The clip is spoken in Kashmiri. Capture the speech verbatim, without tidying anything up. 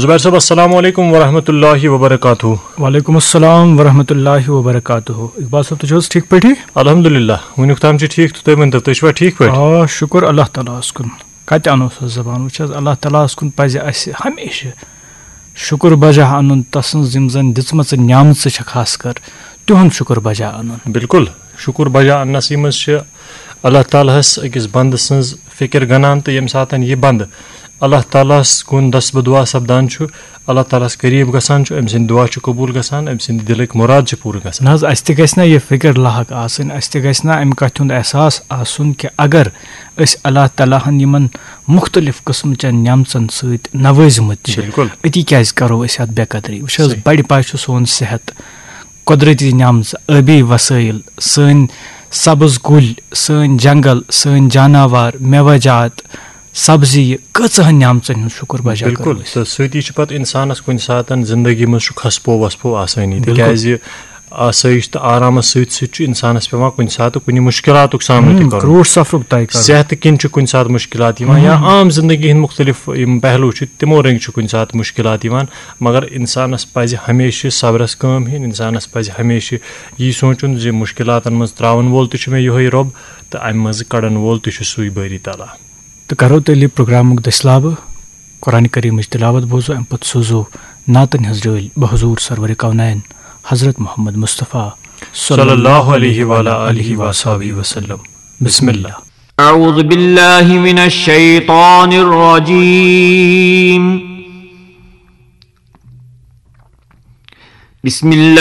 زبیر صٲب، السلام علیکم ورحمۃ اللہ وبرکاتہ۔ وعلیکم السلام ورحمۃ اللہ وبرکاتہ۔ اقبال صٲب، تُہۍ چھِو حظ ٹھیٖک پٲٹھی؟ الحمدللہ، وٕنیُک تام چھِ ٹھیٖک، تہٕ تُہۍ ؤنۍ تو، تُہۍ چھِوا ٹھیٖک پٲٹھۍ؟ آ، شُکُر اللہ تعالیٰ ہَس کُن۔ کَتہِ اَنو سۄ زبان؟ وٕچھ حظ، اللہ تعالیٰ ہَس کُن پَزِ اَسہِ ہمیشہِ شُکُر بجا اَنُن، تَسٕنٛز یِم زَن دِژمَژٕ نعمژٕ چھِ خاص کر، تِہُنٛد شُکُر بجا اَنُن۔ بالکل، شُکُر بجا اَننَسٕے منٛز چھِ اللہ تعالیٰ ہَس أکِس بنٛدٕ سٕنٛز فِکر گنان، تہٕ ییٚمہِ ساتَن یہِ بنٛدٕ اللہ تعالیٰ ہَس کُن دست بدعا سپدان چھُ، اللہ تعالیٰ ہَس قریٖب گژھان چھُ، أمۍ سٕنٛدۍ دُعا چھِ قبوٗل گژھان، أمۍ سٕنٛدِ دِلٕکۍ مُراد چھِ پوٗرٕ گژھان۔ نہ حظ، اَسہِ تہِ گژھِ نا یہِ فِکر لاحق آسٕنۍ، اَسہِ تہِ گژھِ نا اَمہِ کَتھِ ہُنٛد احساس آسُن کہِ اگر أسۍ اللہ تعالیٰ ہَن یِمَن مُختلف قٕسمٕچَن نعمژَن سۭتۍ نوٲزمٕتۍ چھِ، بالکل۔ أتی کیٛازِ کَرو أسۍ اَتھ بے قدری؟ وٕچھ حظ، صحیح۔ بَڑِ پایہِ چھُ سون صحت، قۄدرٔتی نعمژٕ، ٲبی وسٲیِل، سٲنۍ سبٕز کُلۍ، سٲنۍ جنگل، سٲنۍ جاناوار، مٮ۪وٕ جات، سبزی، یہِ کۭژاہن نعمژن ہُنٛد شُکُر بجا کرو بالکل، أسۍ؟ تہٕ سۭتی چھُ پتہٕ انسانس کُنہِ ساتن زندگی منٛز چھُ کھسپو وسپو آسٲنی، بالکل۔ تِکیازِ آسٲیِش تہٕ آرامس سۭتۍ سۭتۍ چھُ انسانس پٮ۪وان کُنہِ ساتہٕ کُنہِ مُشکلاتُک سامنہٕ تہِ ہم، کرُن۔ کروڑ سفرُک طے کرُن۔ صحتہٕ کِنۍ چھُ کُنہِ ساتہٕ مُشکلات یِوان، یا عام زندگی ہٕنٛدۍ مُختلف یِم پہلو چھِ، تِمو رٔنٛگۍ چھِ کُنہِ ساتہٕ مُشکلات یِوان، مگر انسانس پزِ ہمیشہِ صبرس کٲم ہیٚنۍ، انسانس پزِ ہمیشہِ یی سونٛچُن زِ مُشکلاتن منٛز ترٛاون وول تہِ چھُ مےٚ یِہوٚے رۄب، تہٕ امہِ منٛزٕ کڑن وول تہِ چھُ سُے بٲری تعالیٰ۔ تہٕ کرو تیٚلہِ یہِ پروگرامُک دٔسۍ لابہٕ۔ قرآن کریٖمٕچ تلاوت بوزو، امہِ پتہٕ سوزو نعتن ہٕنٛز رٲلۍ بحضور سرور کونین حضرت محمد مصطفیٰ صلی اللہ علیہ وعلی آلہ وصحبہ وسلم۔ بسم اللہ۔ أعوذ بالله من الشيطان الرجيم. بسم الله